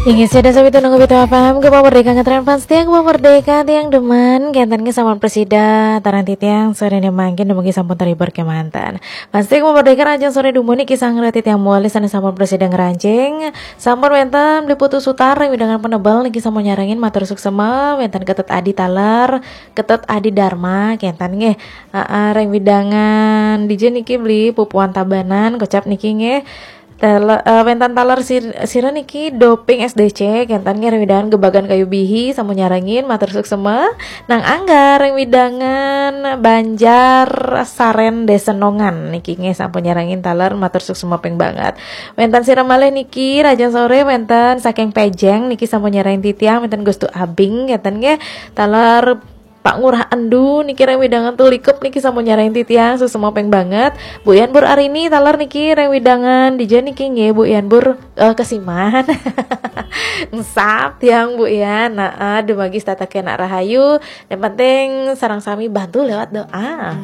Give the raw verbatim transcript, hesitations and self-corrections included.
Inggih, sida sami tunung Bito F M, Gema Merdeka ngetren fans tiang, Gema Merdeka tiang demen, kenten nggih sampun presida, tarang titiang, sore ne mangkin, dumugi sampun terhibur kemanten. Fans tiang Gema Merdeka, rahajeng sore dumun niki sang reti tiang muali sane sampun presida ngranjing, sampun wenten Beli Putu Sutar, ring wewidangan Penebel niki sampun nyarengin, matur suksema, wenten Ketut Adi taler, Ketut Adi Dharma, kenten nggih, aa, ring wewidangan dija niki Beli Pupuan Tabanan, kocap niki nggih, Tele-, eh, wenten taler sir-, sira niki Doping S D C, kenten nggih ring wewidangan Gebagan Kayu Bihi, sampun nyarengin, matur suksema. Nang Angga ring wewidangan Banjar Saren Desenongan niki nggih sampun nyarengin taler, matur suksema ping banget. Wenten sira malih niki, rahajeng sore, wenten saking Pejeng niki sampun nyarengin titiang, wenten Gustu Abing, kenten nggih, taler Pak Ngurah Endu niki ring wewidangan Tulikup niki sampun nyarengin titiang, suksema ping banget. Bu Yan Bur Arini taler niki ring wewidangan dija niki nggih, Bu Yan Bur, eh, Kesiman. Engsap tiang Bu Yan. Nah, eh, dumugi setata kenak rahayu. Yang penting sareng sami bantu lewat doa.